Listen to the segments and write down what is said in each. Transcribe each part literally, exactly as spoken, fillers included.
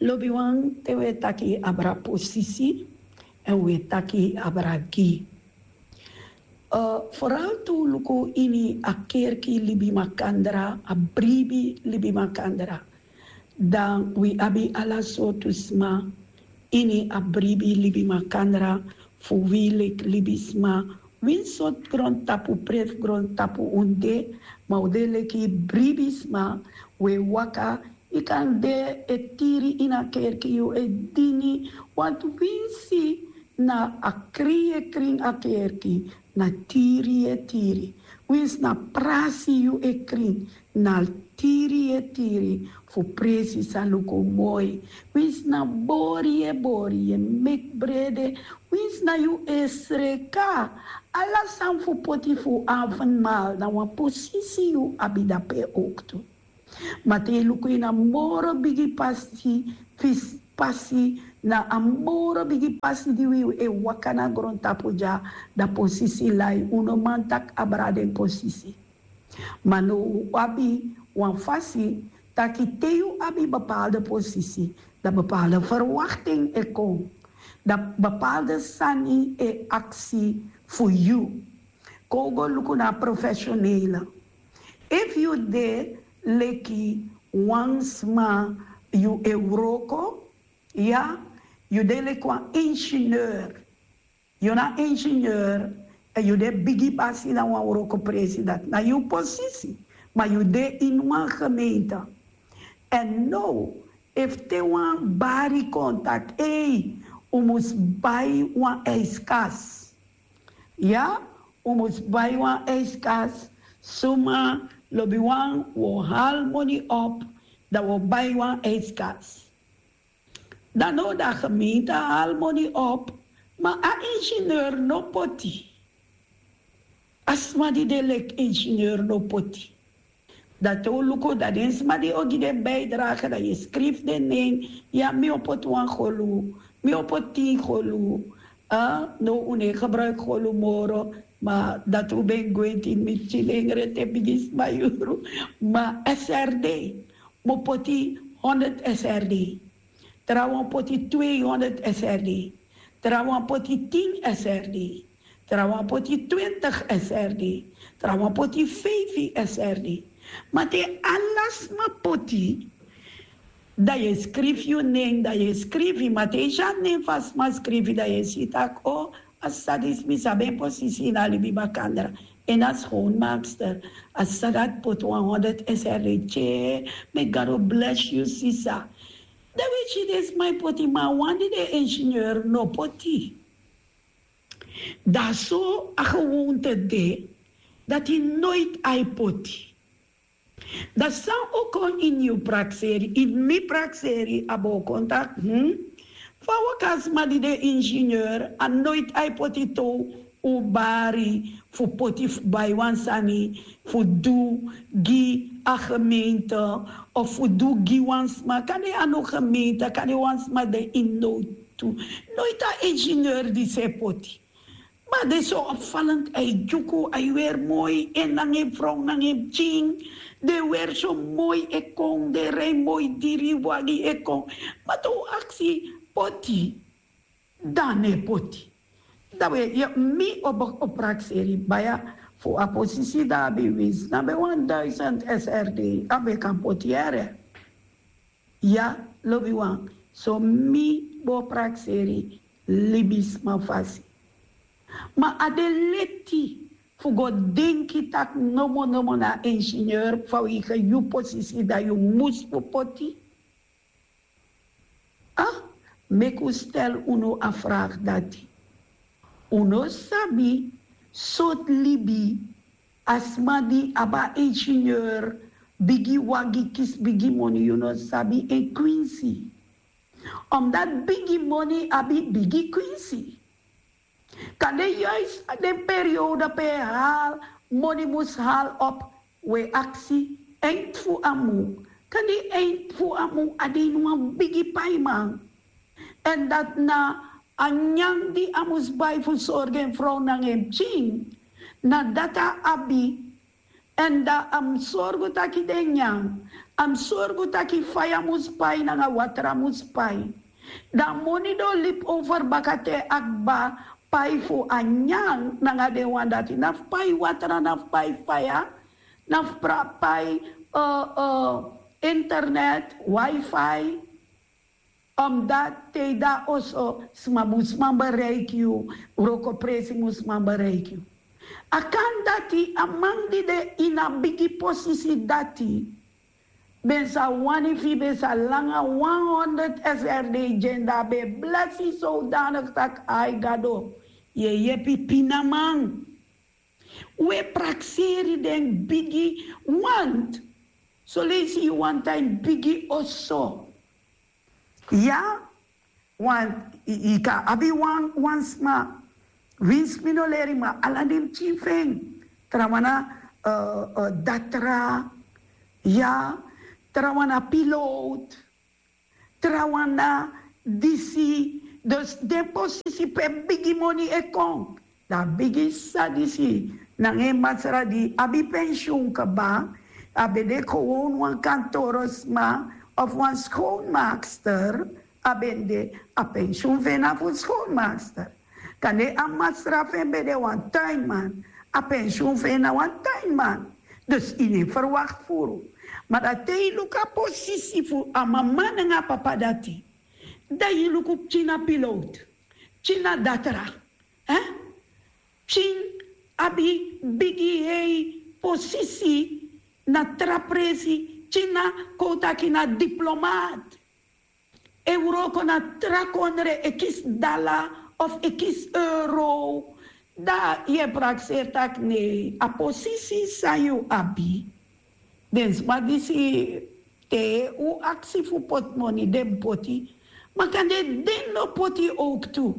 Lobiwan, te wi e taki abra posisi, èn wi e taki abra gi. Foral tu luku ini a kerki libi makandra, a bribi libi makandra. Dan wi abi ala sortu sma ini a bribi libi makandra, fu wi leki libisma, winsi sortu grontapu, prefu grontapu un de, ma un de leki bribisma. Wi e waka, yu kan de e tiri ini a kerki, yu e dini, want winsi na a krin yu e krin a kerki, na tiri yu e tiri. Winsi na prasi yu e krin, na tiri yu e tiri, fu presi sa luku moi. Winsi na bori yu e bori, yu e meki brede, winsi na yu e sreka, ala sani fu poti fu avondmaal, na wan posisi yu abi dape owktu. Ma te yu luku ini a moro bigi pasi, fis pasi, na a moro bigi pasi di wi e waka na grontapu dya, dan posisi lai, un no man taki abra den posisi. Ma now un abi wan fasi taki te yu abi bepaalde posisi, dan bepaalde verwachting e kon, dan bepaalde sani e aksi fu yu. Kon un go luku na profesionele. Efu yu de leki wan sma, yu e wroko, ya, yu de leki wan ingenieur. Yu na ingenieur, èn yu de bigi basi na wan wrokopresi, dati na yu posisi. Ma yu de ini wan gemeente. Èn now, efu te wan bari kon taki, ei, un mus bai wan ijskas. Ya, un mus bai wan ijskas. Suma, lobiwan, wi o hali moni op, dan wi o bai wan ijskas. Dan now dan a gemeente hali moni op, ma a ingenieur no poti. A sma di de leki ingenieur no poti. Dan te un luku, dan den sma di o gi den bijdrage, dan yu e skrifi den nen. Ya, mi o poti wan golu, mi o poti tin golu. Ah, now un no e gebruiki golu moro, ma dati un ben gwenti, mi si den rete bigi sma yuru. Ma S R D, mi o poti honderd S R D. Trawan poti tweehonderd S R D. Trawan poti tin S R D. Trawan poti twintig S R D. Trawan poti vijftig S R D. Ma te ala sma poti, dan yu e skrifi yu nen, dan yu e skrifi, ma te yu si a nen fu a sma skrifi, dan yu e si taki, o, a sisa disi, mi sabi en posisi ini a libi makandra. En a schoonmaakster, a sisa dati poti wan honderd S R D. Tye, may God bless you, sisa. Dan wi e si den sma e poti, ma a wan di de ingenieur no poti. Dan so a gewoonte de, dati noiti a e poti. Dan san o kon ini yu prakseri, ini mi prakseri, a bo kon taki, hmm? Fa waka sma di de ingenieur, a noiti a e poti tow un bari fu poti fu bai wan sani fu du gi a gemeente, of fu du gi wan sma, kande a no gemeente, kande wan sma de ini nowtu. Noiti a ingenieur disi e poti. Ma den so opvallend, a e dyuku, a e weri moi, en nanga en frow nanga en pikin. Den weri so moi e kon, den rij moi diri wagi e kon. Ma te un aksi poti, dan no e poti. Dan wi e, ya, mi o prakseri baya fu a posisi, dan a ben winsi na ben wan duizend S R D, a ben kan poti yere. Ya, lobiwan, so mi bo prakseri libisma fasi. Ma a de leti fu go denki taki nomo nomo na ingenieur, fa wi gi yu posisi dan yu mus fu poti. Ah, meki un stel unu a vraag dati. Un no sabi sortu libi a sma di abi a ingenieur, bigi wagi, kisi bigi moni, yu no sabi en kwinsi. Omdat bigi moni abi bigi kwinsi. Kande juist den periode pe hal, moni mus hal op, wi e aksi, eind fu a mun. Kande eind fu a mun a de ini wan bigi paiman. En dati na a nyan di a mus bai fu sorgu en frow nanga en pikin. Na dati a abi. En dan a mus sorgu taki den nyan, A mus sorgu taki faya mus pai nanga watra mus pai. Dan a moni di o libi over baka te a kba pai fu a nyan nanga den wan dati, na fu pai watra, na fu pai faya, na fu pra- pai eh, eh, internet, wifi. Omdat te yu de na oso, sma mus man bereiki yu, wrokopresi mus man bereiki yu. A kan dati a man di de ini a bigi posisi dati ben sa wani fu yu ben sa langa wan honderd srd, dyenda ben blesi sodanik taki ai gado, yu e yepi pinaman. We prakseri den bigi want soleisi yu wan tan ini bigi oso. Ya, want yu kan abi wan wan sma winsi mi no leri, ma ala den pikin fu en, trawan na datra, ya, trawan na pilot, trawan na disi. Dus den posisi pe bigi moni e kon, dan a bigi sisa disi nanga en masra di abi pensyun kaba, a ben de gewoon wan kantorosma of wan schoonmaakster. A ben de, a pensyun fu en na fu schoonmaakster. Kande a masra fu en ben de wan tuinman, a pensyun fu en na wan tuinman. Dus yu no e verwakti furu. Ma dan te yu luku a posisi fu a mama nanga a papa dati, dan yu luku pikin na pilot, pikin na datra, eh? Pikin abi bigi hei posisi na tra presi, pikin na, kon taki, na diplomaat. E wroko na tra kondre, e kisi dala of e kisi euro. Dan yu e prakseri taki nei a posisi san yu abi, den sma disi, te un aksi fu poti moni den mus poti. Ma kande den no poti owktu.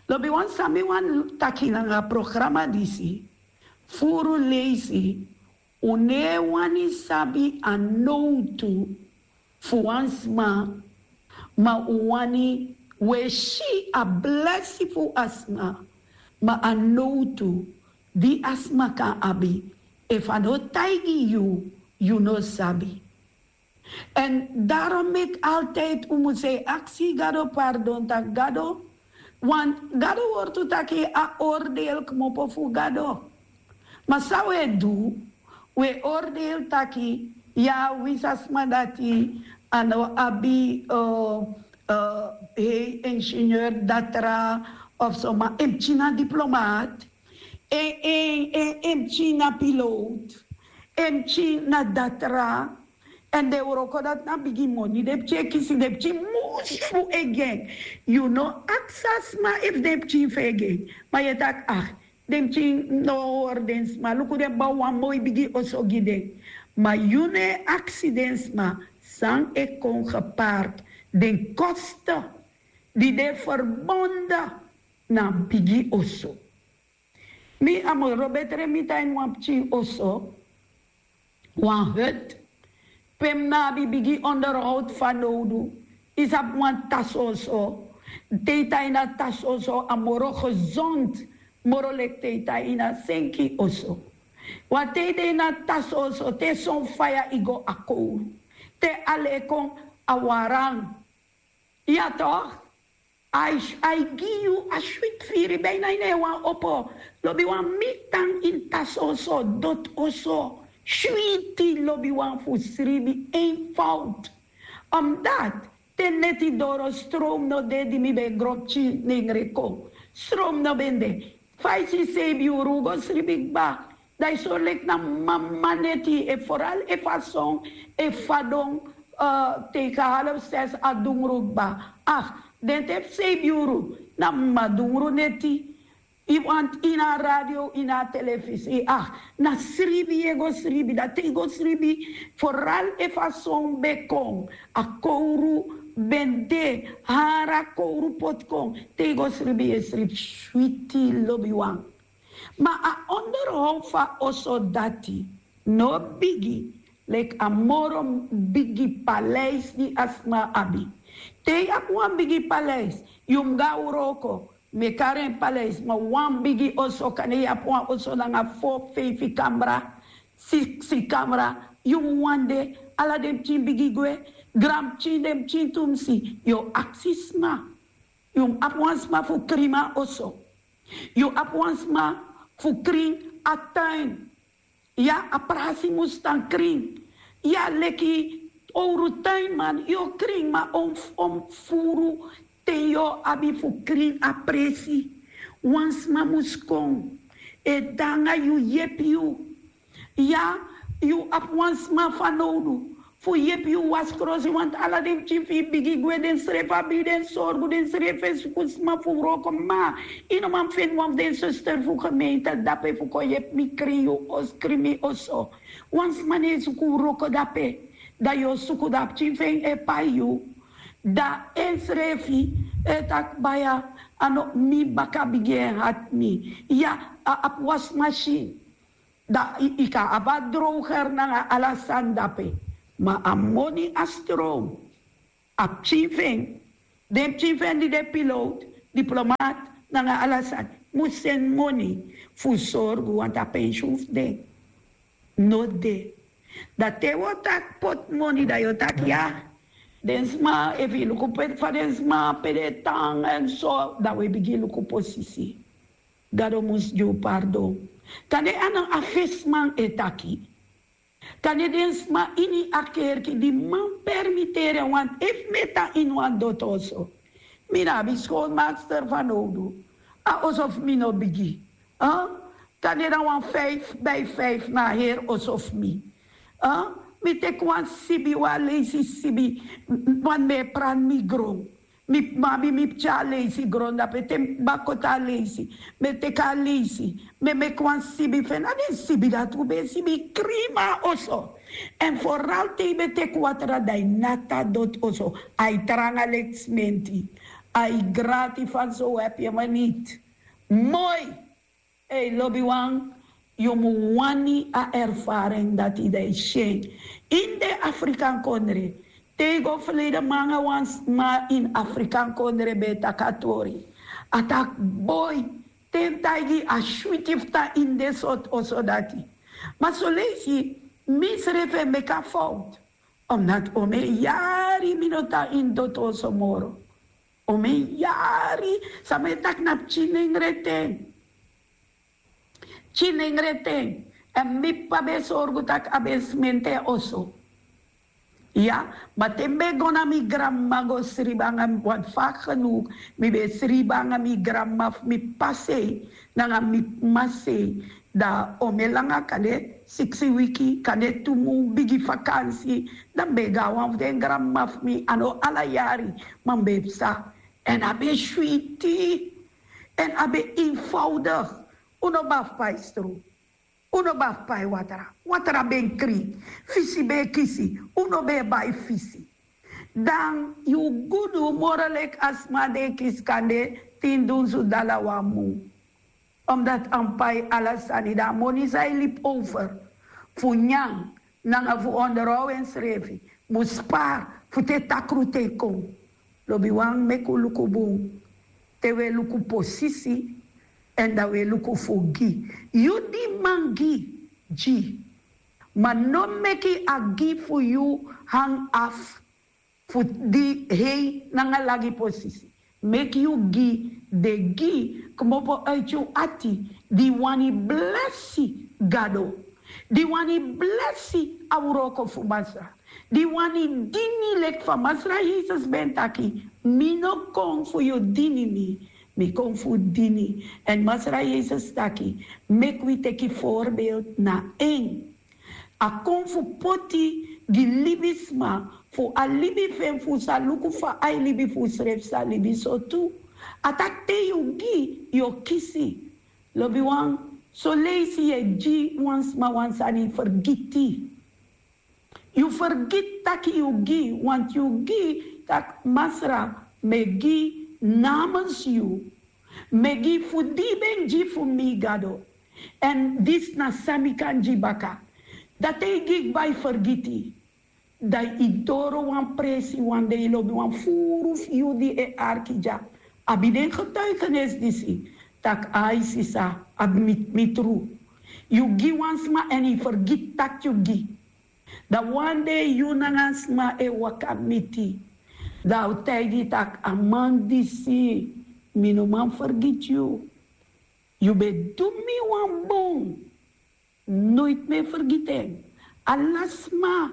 Lobiwan, san mi wani taki nanga programa disi, furu leisi un no e wani sabi a nowtu fu wan sma, ma un wani, un e si a blesi fu a sma, ma a nowtu di a sma kan abi, efu a no taigi yu, yu no sabi. En daarom meki altijd un mus e aksi Gado pardon, taki Gado, want Gado wortu taki a oordeel kmopo fu Gado. Ma san un e du, un e oordeel taki, ya, winsi a sma dati a no abi, eh, eh, hei ingenieur datra of so, ma en pikin na diplomaat, en, en, en, en pikin na pilot, en pikin na datra. En den wroko dati na bigi moni, den pikin e kisi, den pikin musu fu e gi en. Yu no aksi a sma efu den pikin fu e gi en. Ma yu e taki, ah, den pikin no hori den sma, luku den bouw wan moi bigi oso gi den. Ma yu no e aksi den sma san e kon gepaard, den kosten di de verbonden na bigi oso. Mi a moro betre mi tan ini wan pikin oso, wan hut, pe mi no abi bigi onderhoud fanowdu. Yu sabi, wan tasoso, te yu tan ini a tasoso a moro gezond moro leki te yu tan ini a senki oso. Want te yu de ini a tasoso, te son faya yu go a kowru, te ale kon a waran. Ya toch? A e gi yu a switi firi, bijna yu no e wani opo. Lobiwan, mi tan ini tasoso, doti oso, switi, lobiwan, fu sribi, eenvoud. Omdat te neti doro, stroom no de, di mi ben gro pikin nengre kon, stroom no ben de. Fa yu si seibi yuru un go sribi kba, dan yu sori leki na mama neti, e, vooral efu a son e fadon, eh, tegen half zes a dungru kba. Ah, den te fu seibi yuru na mama dungru neti. Yu wani ini a radio, ini a telefisi, ah, na sribi yu e go sribi. Dan te yu go sribi, vooral efu a son ben kon, a kowru ben de, hari a kowru poti kon, te yu go sribi yu e sribi switi, lobiwan. Ma a onderhoud fu a oso dati no bigi leki a moro bigi paleis di a sma abi. Te yu abi wan bigi paleis, yu mus go na wroko, mi e kari en paleis, ma wan bigi oso, kande yu abi wan oso nanga fo, feifi kamra, siksi kamra, yu mus wani de Ala den pikin bigi gwe, granpikin, den pikin tumsi. Yu o aksi sma. Yu mus abi wan sma fu krin mi a oso. Yu abi wan sma fu krin a tuin. Ya, a prasi mus tan krin. Ya, leki owru tuinman yu o krin, ma on, on furu ten yu o abi fu krin a presi. Wan sma mus kon e de nanga yu, yepi yu. Ya, yu abi wan sma fanowdu fu yepi yu wasi krosi, want ala den pikin fu yu bigi gwe, den srefi abi den sorgu, den srefi e suku sma fu wroko. Ma yu no man feni wan fu den suster fu gemeente dape fu kon yepi mi krin yu oso, krin mi oso. Wan sma no e suku wroko dape. Dan yu o suku, dan a pikin fu en e pai yu. Dan ensrefi e taki: baya, a no mi baka bigi en hati mi. Ya, a abi wasi masin. Dan yu kan abi a droger nanga ala sani dape. Ma a moni, a stroom, a pikin fu en, den pikin fu en di de piloot, diplomaat, nanga ala sani, mus seni moni fu sorgu, want a pensioen fu den no de. Dan te wi o taki poti moni, dan yu o taki ya. Den sma, efu yu luku pe fa den sma pe de tan èn so, dan wi e bigin luku posisi. Gado mus gi wi pardon. Kande a no a fesi man e taki. Kande den sma ini a kerki di man permiteri en, want efu mi e tan ini wan doti oso, mi no abi schoonmaakster fanowdu. A oso fu mi no bigi. Kande na wan fijf bij vijf na a heri oso fu mi. Mi teki wan sibi, wan leisi sibi, want mi e prani mi gron. Mi mabi mi pikin a leisi grondape, te mi baka koti a leisi, mi e teki a leisi, mi e meki wan sibi fu en. Na den sibi dati un ben e sibi krin mi a oso. Èn foral te yu ben teki watra, dan yu nati a doti oso, a e tranga leki simenti, a e grati. Fan so un abi en maniti. Moi. Ei, lobiwan, yu mu wani a ervaring dati, dan yu si en. Ini den Afrikan kondre, te yu go ferleden man nanga wan sma ini Afrikan kondre ben e taki a tori. A taki: boi, te mi taigi yu, a switi fu tan ini den sortu oso dati. Ma son leisi mi srefi e meki a fowtu. Omdat omeni yari mi no tan ini doti oso moro. Omeni yari, san mi e taki na pikin nengre ten. Pikin nengre ten. Èn mi p'pa ben e sorgu tak' a ben e simenti en oso. Ya, ma te mi ben go na mi granmama go sribi nanga mi, want vaak genoeg mi ben e sribi nanga mi granmama fu mi p'pa sei nanga mi m'ma sei. Dan omeni langa, kande siksi wiki, kande tu mun, bigi vakansi, dan mi ben e go na wan fu den granmama fu mi. A no ala yari, ma mi ben e psa. Èn a ben switi. Èn a ben eenvoudig. Un no ben abi fu pai stro. Un no ben abi fu pai watra. Watra ben krin. Fisi ben e kisi. Un no ben e bai fisi. Dan yu gudu moro leki a sma di e kisi kande tin dunsu dala wan mun. Omdat a mu pai ala sani, dan a moni san e libi over fu nyan nanga fu onderhoud ensrefi, mu spari fu te takru ten kon. Lobiwan, meki un luku bun. Te un e luku posisi, èn dan un e luku fu gi. Yu di man gi, gi. Ma no meki a gi fu yu hang afu fu di hei nanga lagi posisi. Meki yu gi, de gi kmopo uiti yu ati, di wani blesi Gado, di wani blesi a wroko fu Masra, di wani dini leki fa Masra Yesus ben taki: mi no kon fu yu dini mi, mi kon fu dini. Èn Masra Yesus taki: meki wi teki voorbeeld na en. A kon fu poti gi libisma fu a libi fu en, fu un sa luku fa a e libi, fu unsrefi sa libi so tu. A taki te yu gi, yu o kisi. Lobiwan, son leisi yu e gi wan sma wan sani, fergiti. Yu fergiti tak' yu gi, want yu gi tak' Masra, mi e gi namens yu. Mi e gi fu di yu ben gi fu mi, Gado. Èn disi na san mi kan gi baka. Dan te yu gi kba, yu fergiti. Dan yu doro wan presi wan dei, lobiwan, furu fu yu di e arki dya, abi den getuigenis disi, tak' ai sisa, a mi, mi tru. Yu gi wan sma èn yu fergiti tak' yu gi. Dan wan dei yu nanga sma e waka miti, dan a o taigi tak' a man disi, mi no man fergiti yu. Yu ben du mi wan bun. Noiti mi e fergiti en. Ala sma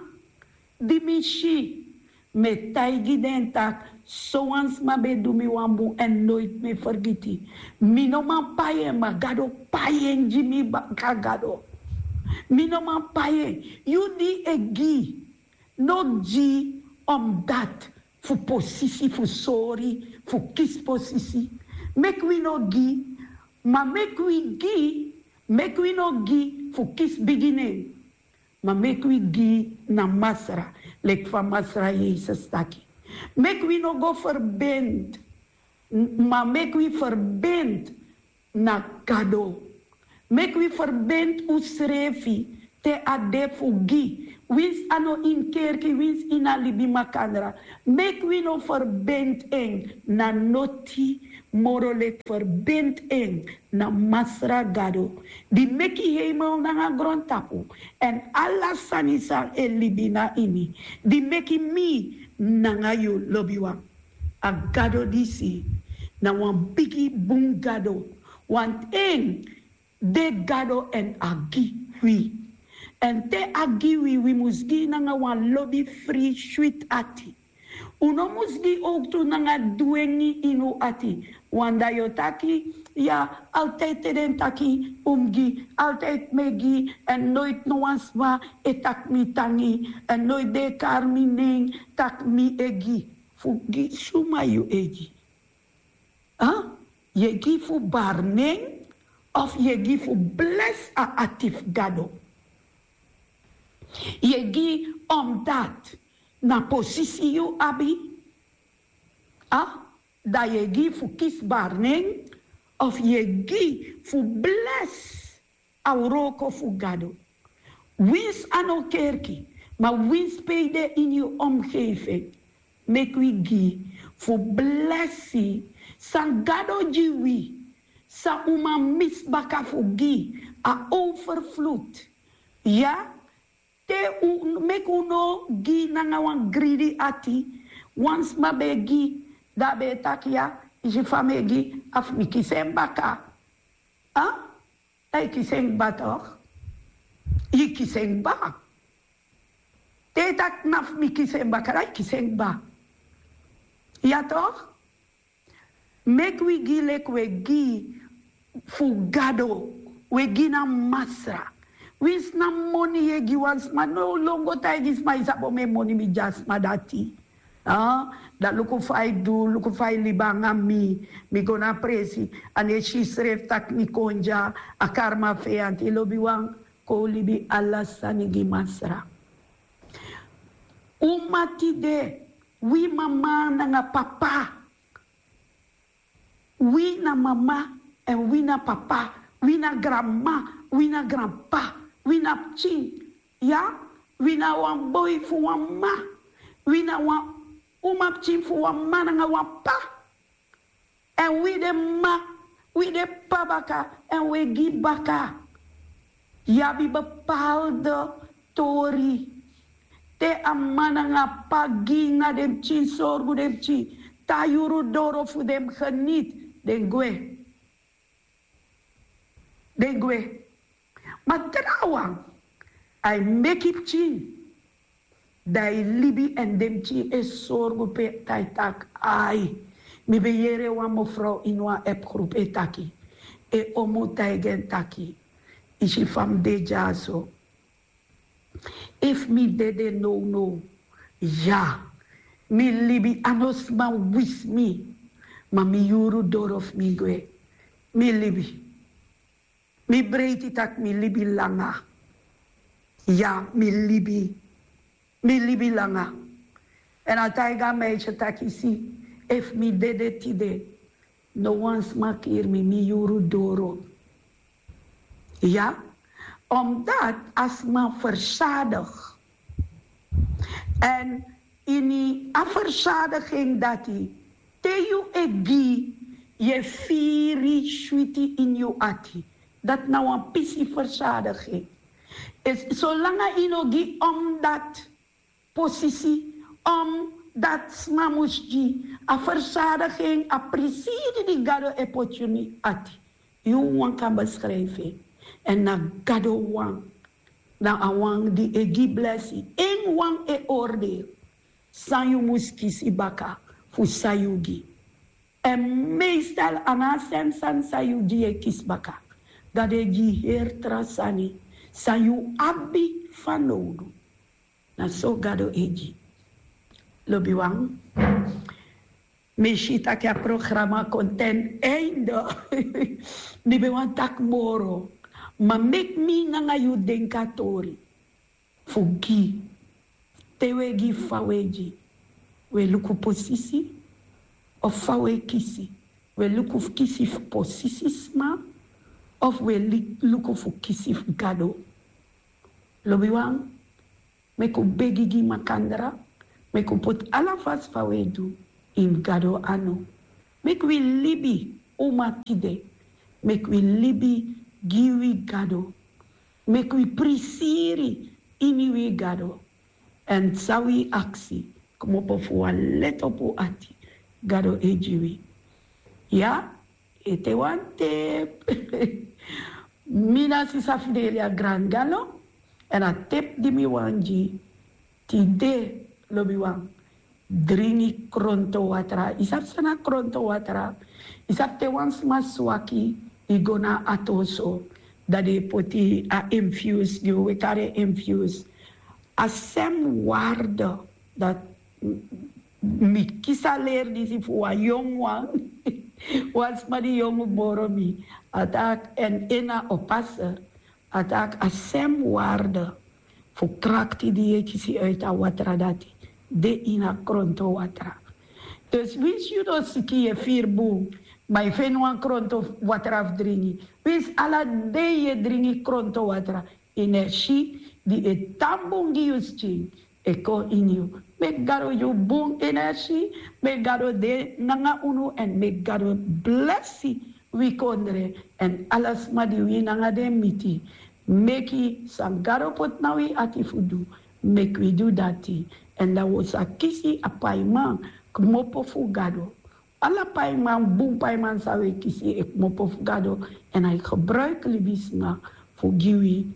di mi si, mi e taigi den tak' sowan sma ben du mi wan bun èn noiti mi e fergiti. Mi no man pai en, ma Gado pai en gi mi baka. Gado, mi no man pai en. Yu di e gi, no gi omdati fu posisi, fu sori, fu kisi posisi. Meki wi no gi, ma meki wi gi, meki wi no gi fu kisi bigi nen. Ma meki wi gi na Masra, leki fa Masra Yesus taki. Meki wi no go ferbinti, ma meki wi ferbinti na Gado. Meki wi ferbinti unsrefi te a de fu gi. Winsi a no ini kerki, winsi ini a libi makandra, meki wi no ferbinti en na noti moro leki ferbinti en na Masra Gado, di meki heimel nanga grontapu èn ala sani san e libi na ini, di meki mi nanga yu, lobiwan. A Gado disi na wan bigi bun Gado. Wanten de Gado èn a gi wi. Èn te a gi wi, wi mus gi nanga wan lobi, fri, switi ati. Un no mus gi owktu nanga dwengi ini un ati. Wan dei yu o taki, ya, altijd te den taki un mus gi, altijd mi e gi, èn noiti no wan sma e taki mi tangi, èn noiti den e kari mi nen tak' mi e gi. Fu gi suma yu e gi? A? Yu e gi fu bari nen, of yu e gi fu blesi a ati fu Gado? Yu e gi omdati na posisi yu abi? A? Dan yu e gi fu kisi bari nen, of yu e gi fu blesi a wroko fu Gado? Winsi a no kerki, ma winsi pe yu de ini yu omgeving, meki wi gi fu blesi san Gado gi wi, san un man misi baka fu gi, a overvloed. Ya, te un, meki un no gi nanga wan gridi ati. Wan sma ben e gi, dan a ben e taki, ya, yu si fa mi e gi, a fu mi kisi en baka. A? Dan yu kisi en kba, toch? Yu kisi en kba. Te yu taki na fu mi kisi en baka, dan yu kisi en kba. Ya, toch? Meki wi gi leki wi e gi fu Gado, wi e gi na Masra. Winsi na moni yu e gi wan sma, no lon go taigi sma, yu sabi omeni moni mi gi a sma dati. A? Dan luku fa yu du, luku fa yu libi nanga mi. Mi go na presi, a no e si srefi tak' mi kon dya, a kari mi a feyanti. Lobiwan, kon un libi ala sani gi Masra. Uman tide, wi mama nanga papa, wi na mama èn wi na papa, wi na granmama, wi na granpapa, wi na pikin, ya, wi na wan boi fu wan mama, wi na wan umapikin fu wan mama nanga wan papa. Èn wi de mama, wi de papa baka, èn wi e gi baka. Yu abi bepaalde tori. Te a mama nanga papa gi na den pikin, sorgu den pikin, te a yuru doro fu den geniti, den gwe. Den gwe. Ma trawan, a e meki pikin, dan a e libi èn den pikin e sorgu pe, dan a e taki. Ai, mi ben yere wan mevrouw ini wan appgroep e taki, en omu taigi en taki, yu si fa mi de dyaso. Efu mi dede nownow, ya, mi libi, a no sma wisi mi, ma mi yuru doro fu mi gwe. Mi libi. Mi breiti tak' mi libi langa. Ya, mi libi. Mi libi langa. Èn a taigi a meisje taki, si, efu mi dede tide, no wan sma kiri mi, mi yuru doro. Ya, omdat a sma verzadig. Èn ini a verzadiging dati, te yu e gi, yu e firi switi ini yu ati. Dati na wan pisi verzadiging. Solanga yu no gi om dati posisi, om dati sma mus gi a fersadigi en, a prisiri di Gado e poti ini yu ati, yu wawan kan beskrijfi en. Èn na Gado wan, na a wan di e gi blesi, en wan e oordeel san yu mus kisi baka fu san yu gi. Èn meestal a no a sani sani san yu gi yu e kisi baka. Gado e gi heri tra sani san yu abi fanowdu. Na so Gado e gi. Lobiwan, mi si tak' a programa kon ten einde. Mi ben wani taki moro, ma meki mi nanga yu denki a tori fu gi. Te wi e gi, fa wi e gi? Wi e luku posisi, of fa wi e kisi? Wi e luku fu kisi fu posisi sma, of wi e luku fu kisi fu Gado? Lobiwan, meki un begi gi makandra, meki un poti ala fasi fa wi e du ini Gado anu. Meki wi libi uma tide, meki wi libi gi wi Gado, meki wi prisiri ini wi Gado. Èn san wi aksi kmopo fu wan leti opo ati, Gado e gi wi. Ya, ete wan tepu. Mi na sisa Fidelia Grangalo, èn a tepu di mi wani gi tide, lobiwan, dringi kronto watra. Yu sabi san na kronto watra? Yu sabi te wan sma swaki, yu go na a ati oso, dan den e poti a infuse gi wi, wi e kari en infuse. A sem warde, dati mi kisi a leri disi fu wan yongu wan, wan sma di yongu moro mi. A taki, èn en na oppaster, a taki a sem warde fu krakti di yu e kisi uit a watra dati de ini a kronto watra. Dus winsi yu no siki, yu e firi bun, ma yu feni wan kronto watra fu dringi, winsi ala dei yu e dringi kronto watra, energie di e tan bun gi yu skin e kon ini yu. Meki Gado gi yu bun energie, meki Gado de nanga unu, èn meki Gado blesi wi kondre èn ala sma di wi nanga den miti. Meki san Gado poti na wi ati fu du, meki wi du dati. Èn dan wi o sa kisi a paiman kmopo fu Gado. Ala paiman, bun paiman san wi e kisi e kmopo fu Gado, èn a e gebruiki libisma fu gi wi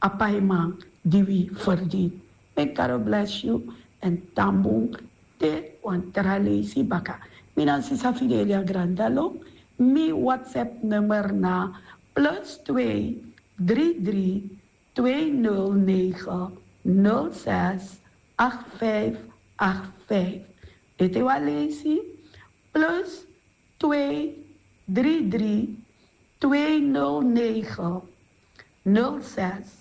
a paiman di wi ferdini. Meki Gado blesi yu, èn tan bun te wan tra leisi baka. Mi na sisa Fidelia Grandalo. Mi WhatsApp nummer na plus twee drie drie twee nul negen nul zes acht vijf acht vijf. Ete wan leisi, plus twee drie drie twee nul negen nul zes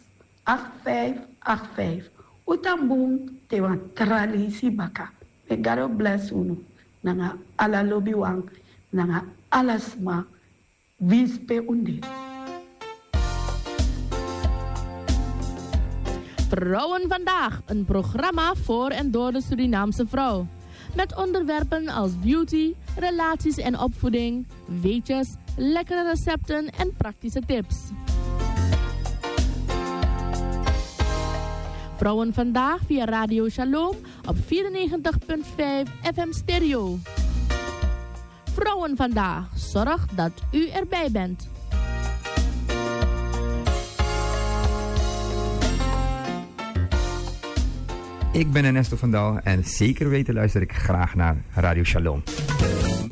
acht vijf acht vijf. Un tan bun te wan tra leisi baka. Meki Gado blesi unu nanga ala lobiwan, nanga ala sma winsi pe un de. Vrouwen Vandaag, een programma voor en door de Surinaamse vrouw. Met onderwerpen als beauty, relaties en opvoeding, weetjes, lekkere recepten en praktische tips. Vrouwen Vandaag via Radio Shalom op vierennegentig punt vijf F M Stereo. Vrouwen Vandaag zorgt dat u erbij bent. Ik ben Ernesto van Dal en zeker weten luister ik graag naar Radio Shalom.